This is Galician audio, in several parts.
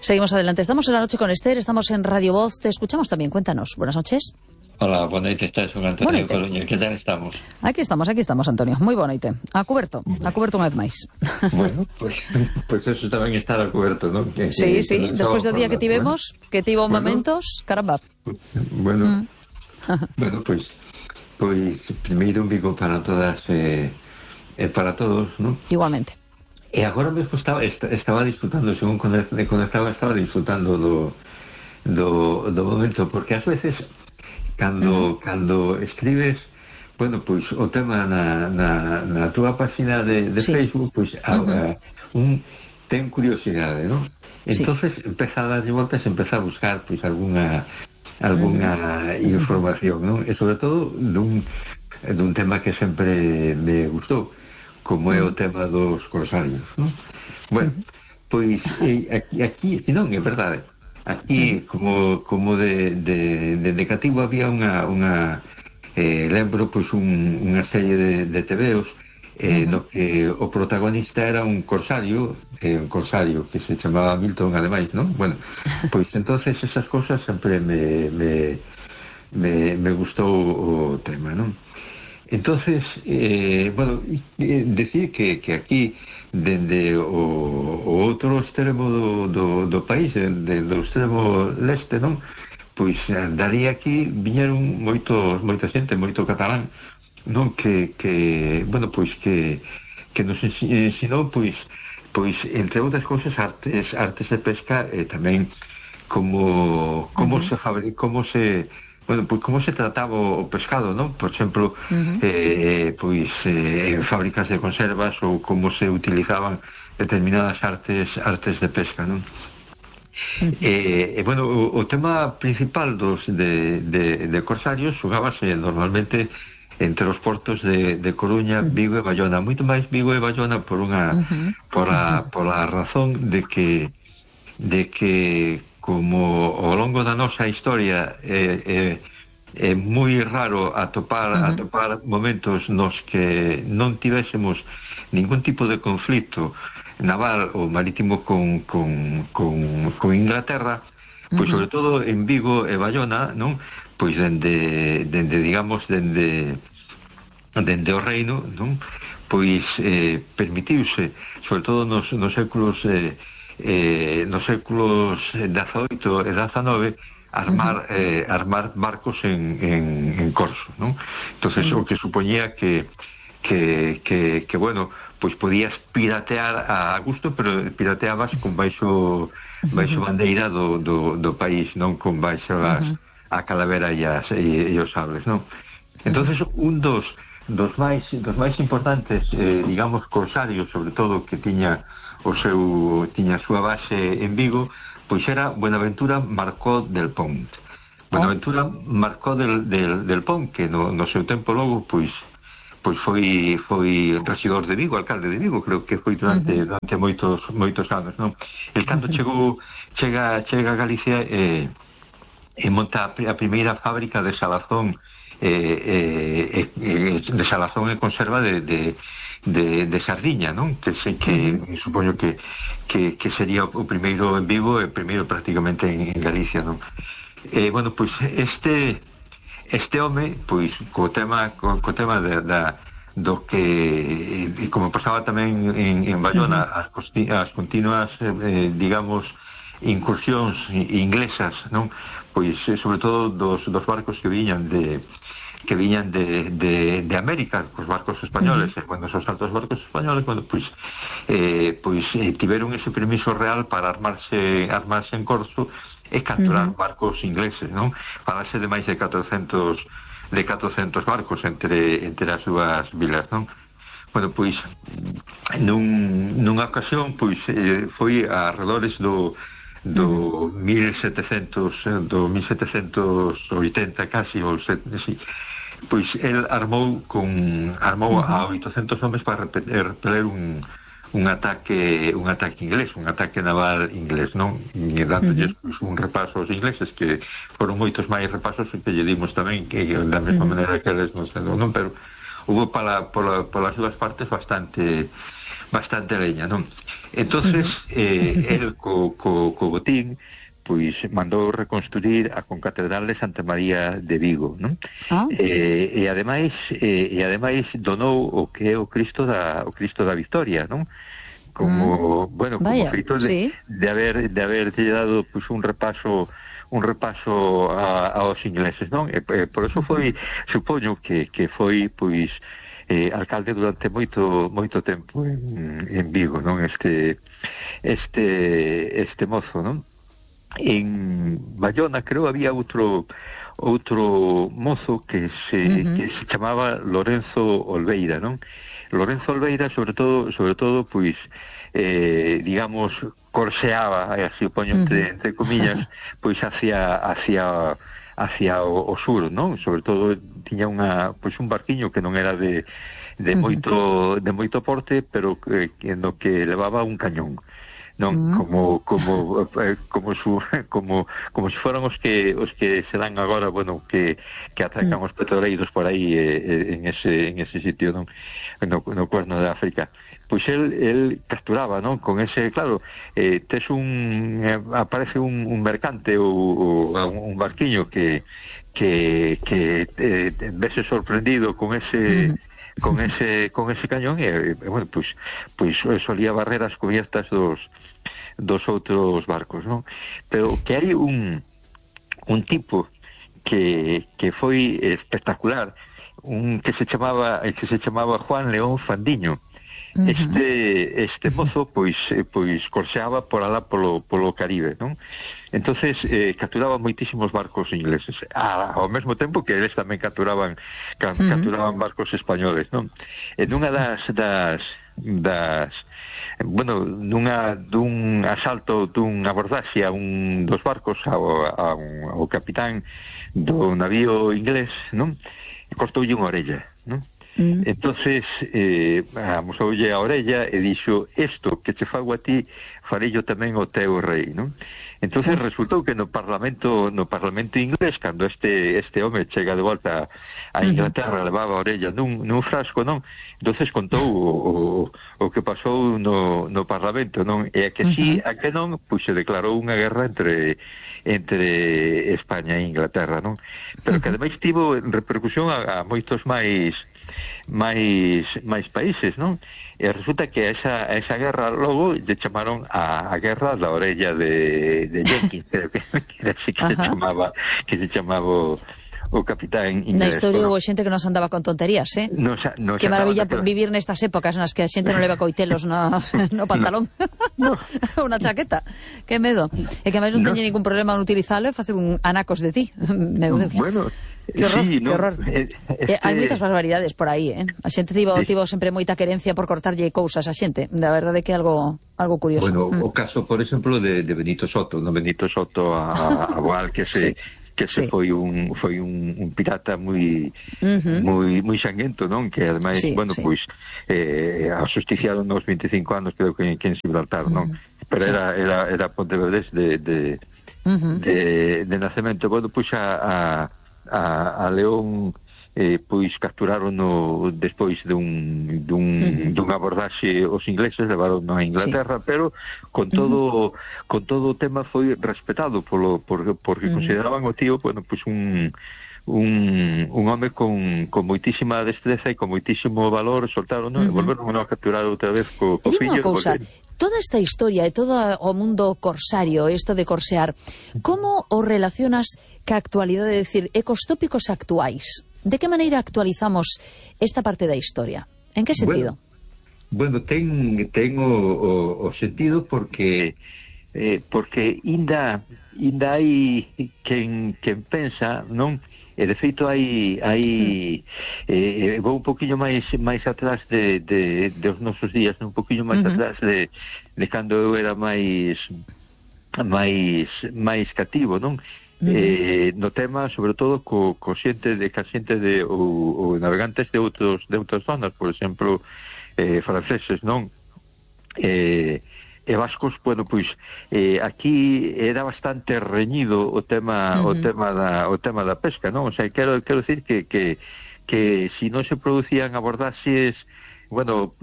Seguimos adelante. Estamos en La Noche con Esther, estamos en Radio Voz. Te escuchamos también. Cuéntanos. Buenas noches. Hola, boa noite, estás con Antonio de Coruña. Que tal estamos? Aquí estamos, Antonio. Moi boa noite. A cuberto unha vez máis. Bueno, pues eso tamén estar a cuberto, non? Sí, despois do día que tivemos, que tivo momentos, caramba. Bueno, pues primeiro un bico para todas para todos, non? Igualmente. E agora mesmo estaba disfrutando, según conectaba, estaba disfrutando do momento, porque ás veces cando escribes, bueno, pois o tema na túa página de Facebook, pois un ten curiosidade, non? Entonces empeza a darlle voltas, empeza a buscar pois alguna información, non? E sobre todo dun tema que sempre me gustou, como é o tema dos corsarios, non? Bueno, pois aquí non, é verdade. Aquí, como de cativo, había unha lembro, pois, unha serie de tebeos no que o protagonista era un corsario que se chamaba Milton, ademais, non? Bueno, pois entonces esas cosas sempre me gustou o tema, non? Entonces, bueno, decir que aquí, dende o outro extremo do país, do extremo leste, non? Pois daría aquí viñeron moita xente, moito catalán, non? Que bueno, pois que nos ensinou, pois entre outras cousas, artes de pesca, e tamén como se bueno, pois como se trataba o pescado, non? Por exemplo, pois en fábricas de conservas, ou como se utilizaban determinadas artes de pesca, non? Bueno, o tema principal de corsarios xugábase normalmente entre os portos de Coruña, Vigo e Bayona, moito máis Vigo e Bayona pola razón de que como ao longo da nosa historia é moi raro atopar momentos nos que non tivésemos ningún tipo de conflito naval ou marítimo con Inglaterra, pois sobre todo en Vigo e Bayona, non? Pois dende o reino, non? Pois permitiuse, sobre todo nos séculos XVIII e XIX, armar barcos en corso, non? Entonces o que supoñía que bueno, pois podías piratear a gusto, pero pirateabas con baixo bandeira do país, non con baixo a calavera e os sables, non? Entonces un dos máis importantes, digamos, corsarios, sobre todo, que tiña a súa base en Vigo, pois era Buenaventura Marcó del Pont. Buenaventura Marcó del Pont, que no seu tempo logo, pois foi regidor de Vigo, alcalde de Vigo, creo que foi durante moitos anos, non? El cando chega a Galicia e monta a primeira fábrica de salazón e conserva de sardiña, non? Que supoño que sería o primeiro en Vigo e o primeiro prácticamente en Galicia, non? Bueno, pois este home, pois co tema do que, como pasaba tamén en Bayona, as continuas digamos incursións inglesas, non? Pois sobre todo dos barcos que viñan de América, os barcos españoles, cando os altos barcos españoles, bueno, pois tiveron ese permiso real para armarse en corso e capturar barcos ingleses, non? Falase de máis de 400 barcos entre as súas vilas, non? Bueno, pois nunha ocasión, pois foi a arredores do 1780 casi, ou pois el armou a 800 homes para repeler un ataque inglés, un ataque naval inglés, non? E dándolles un repaso aos ingleses, que foron moitos máis repasos que lle dimos tamén, que da mesma maneira que eles non, pero hubo polas dúas partes bastante bastante leña, non? Entonces, el co botín, pois mandou reconstruir a concatedral de Santa María de Vigo, non? E ademais donou o que é o Cristo da Victoria, non? Como, bueno, como feito de haber dado pois un repaso aos ingleses, non? E por eso foi, supoño que foi pois alcalde durante moito tempo en Vigo, non? Este mozo, non? En Bayona creo había outro mozo que se chamaba Lorenzo Olveira, non? Lorenzo Olveira sobre todo pois digamos corseaba, así o poño entre comillas, pois hacia o sur, non? Sobre todo tiña un barquiño que non era de moito porte, pero no que levaba un cañón, non? Como se foran os que se dan agora, bueno, que atracan os petroleiros por aí en ese sitio, non? No cuerno de África. Pois el capturaba, non? Con ese, claro, aparece un mercante ou un barquiño que vese sorprendido con ese cañón e bueno, pois solía barrer as cubiertas dos outros barcos, non? Pero que hai un tipo que foi espectacular, que se chamaba Juan León Fandiño. Este mozo pois corseaba por alá polo Caribe, non? Entonces capturaba moitísimos barcos ingleses ao mesmo tempo que eles tamén capturaban barcos españoles, non? En unha dun asalto, dun abordaxe a dos barcos ao capitán do navío inglés, non? Cortoulle unha orella, non? Entonces amosoulle a orella e dixo: isto que che fago a ti farello tamén o teu rei, non? Entonces resultou que no Parlamento inglés, cando este home chega de volta a Inglaterra, levaba a orella nun frasco, non? Entonces contou o que pasou no Parlamento, non? E a que sí, a que non, pois se declarou unha guerra entre España e Inglaterra, non? Pero que ademais tivo repercusión a moitos máis países, non? E resulta que esa guerra logo lle chamaron a guerra da orella de Jenkins, creo que era así que se chamaba o capitán inglés. Na historia houve xente que nos andaba con tonterías, que maravilla vivir nestas épocas nas que a xente non leva coitelos no pantalón. Unha chaqueta. Que medo. E que máis non teñe ningún problema en utilizalo e facer un anacos de ti. Meu Deus. Bueno, que horror. Hai moitas barbaridades por aí, A xente tivo sempre moita querencia por cortarlle cousas a xente. Da verdade que é algo curioso. Bueno, o caso, por exemplo, de Benito Soto, a Boal, que se foi un pirata moi sanguento, non? Que ademais, pois asusticiaron nos 25 anos, creo que en Gibraltar, non? Pero era pontevedrés de nacemento. Bueno, pois a León pois capturaron despois dun abordaxe os ingleses, levaron a Inglaterra, pero con todo o tema foi respetado porque consideraban o tío, bueno, pois un home con moitísima destreza e con moitísimo valor, soltaron, e volveron a capturar outra vez co fillo. Toda esta historia e todo o mundo corsario, isto de corsear, como o relacionas ca actualidade, decir, e cos tópicos actuais? De que maneira actualizamos esta parte da historia? En que sentido? Bueno, ten o sentido porque inda hai quen pensa, non? E de feito hai vou un poquinho máis atrás dos nosos días, un poquinho máis atrás de cando eu era máis cativo, non? No tema, sobre todo, co xente de ou navegantes de outras zonas, por exemplo, franceses, non? E vascos, bueno, pois aquí era bastante reñido o tema da pesca, non? O sea, quero decir que si non se producían abordaxes bueno,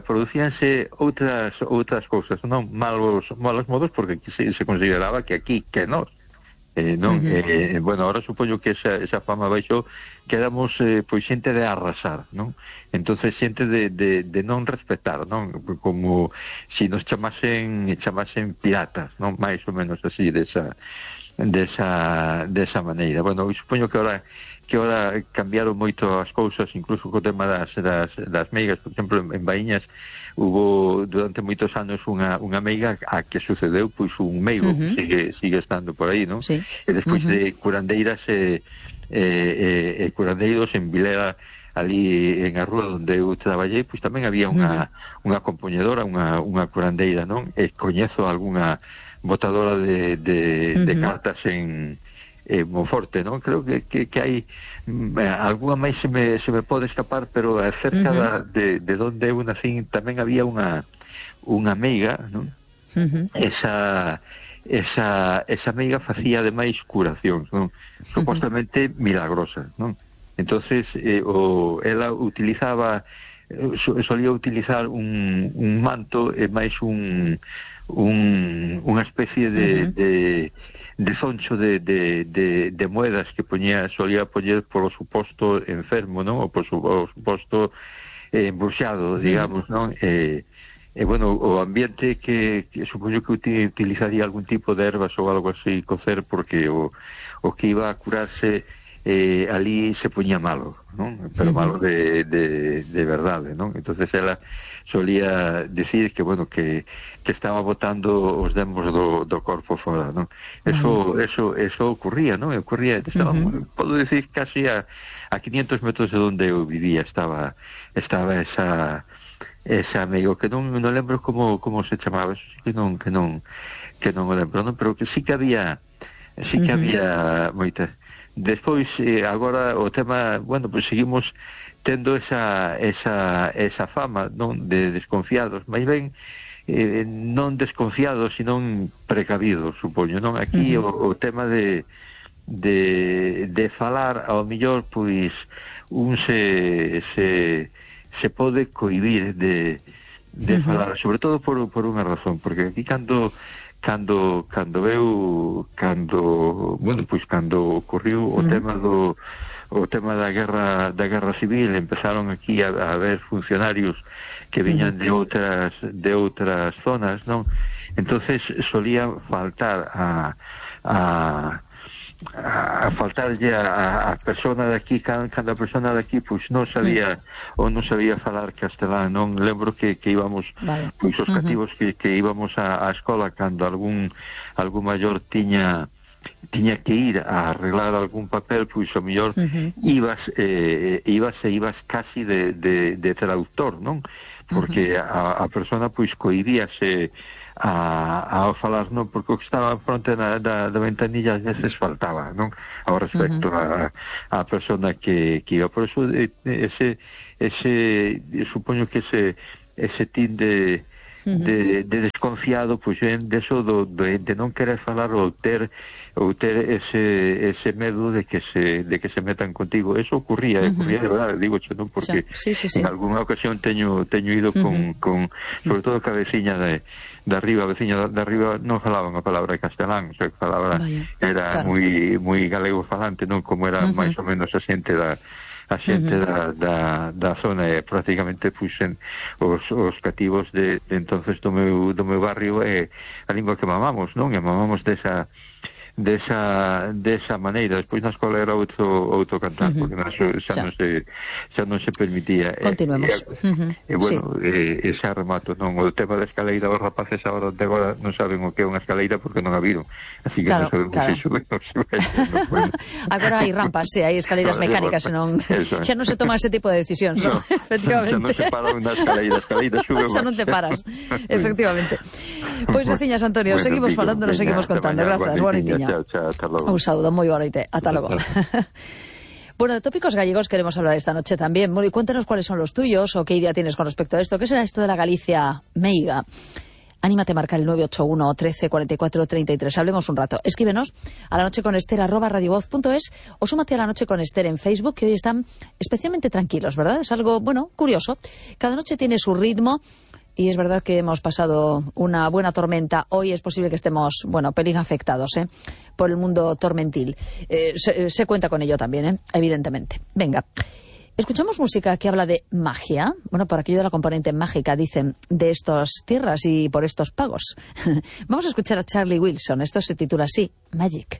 producíanse outras cousas, non malos modos, porque se consideraba que aquí, que nós, non, bueno, ahora supoño que esa fama baixou, que éramos pois xente de arrasar, non? Entonces xente de non respetar, non? Como si nos chamasen piratas, non? Mais ou menos así, desa maneira. Bueno, supoño que ahora cambiaron moito as cousas, incluso co tema das meigas. Por exemplo, en Baíñas hubo durante moitos anos unha meiga a que sucedeu pois un meigo, sigue estando por aí, non? Sí. E despois de curandeiras e curandeiros en Vilera, ali en a rúa onde eu traballei, pois tamén había unha compoñedora, unha curandeira, non? E coñezo algunha botadora de cartas en Monforte, non? Creo que hai algunha máis se me pode escapar, pero cerca de onde eu nacín tamén había unha meiga, non? Esa meiga facía ademais curacións, non? Supostamente milagrosas, non? Entonces ela utilizaba solía utilizar un manto e máis unha especie de zoncho de moedas que solía poñer por o suposto enfermo, non? Ou por o suposto embruxado, digamos, non? Bueno, o ambiente que supoño que utilizaría algún tipo de ervas ou algo así cocer, porque o que iba a curarse ali se poñía malo, non? Pero malo de verdade, non? Entonces ela solía decir que, bueno, que estaba botando os demos do corpo fora, non? Eso ocurría, non? Podo decir, casi a 500 metros de onde eu vivía estaba esa amigo, que non lembro como se chamaba, eso sí que non o lembro, non? Pero que sí que había moitas. Despois, agora o tema, bueno, pues seguimos tendo esa fama, non, de desconfiados, máis ben non desconfiados, sino precavidos, supoño, non? Aquí o tema de falar, ao mellor, pois un se pode cohibir de falar, sobre todo por unha razón, porque aquí cando ocurriu o tema da guerra civil, empezaron aquí a haber funcionarios que viñan de outras zonas, non? Entonces solía faltar a faltarlle a persona de aquí, cada persona de aquí pois non sabía falar castelán, non? Lembro que íbamos, pois os cativos que íbamos á escola, cando algún maior tiña que ir a arreglar algún papel, pois o mellor ibas casi de traductor, non? Porque a persona pois cohibíase a falar, non? Porque o que estaba fronte da ventanilla ás veces faltaba, non? Ao respecto a persona que iba. Por eso supoño que ese tin de desconfiado, pois de eso de non querer falar ou ter ese medo de que se metan contigo. Eso ocurría de verdade, digo, non? Porque en algunha ocasión teño ido con sobre todo ca veciña de arriba non falaban a palabra castelán, o sea, que falaba era moi galego falante, non? Como era máis ou menos a xente da zona, e prácticamente puxen os cativos de entonces do meu barrio, a lingua que mamamos, non? E mamamos desa maneira. Despois na escola era outro cantar, porque xa non se permitía. Continuemos. Bueno, xa remato, non? O tema da escaleira, os rapaces agora non saben o que é unha escaleira porque non a viron, así que non sabemos se sube ou se vai. Agora hai rampas, hai escaleiras mecánicas, xa non se toman ese tipo de decisións, non? Efectivamente. Xa non se para unha escaleira sube máis. Xa non te paras, efectivamente. Pois, veciñas, Antonio, seguimos falando, nos seguimos contando. Grazas, boa noitiña. Hasta logo. Un saludo, moi boa noite. Ata logo. Bueno, de tópicos gallegos queremos hablar esta noche también. Bueno, y cuéntanos cuáles son los tuyos o qué idea tienes con respecto a esto. ¿Qué será esto de la Galicia meiga? Anímate a marcar el 981 13 44 33. Hablemos un rato. Escríbenos a lanocheconester@radiovoz.es o súmate a La Noche con Ester en Facebook, que hoy están especialmente tranquilos, ¿verdad? Es algo, bueno, curioso. Cada noche tiene su ritmo. Y es verdad que hemos pasado una buena tormenta. Hoy es posible que estemos, bueno, pelín afectados, por el mundo tormentil. Se cuenta con ello también, evidentemente. Venga, escuchamos música que habla de magia. Bueno, por aquello de la componente mágica, dicen, de estas tierras y por estos pagos. Vamos a escuchar a Charlie Wilson. Esto se titula así, Magic.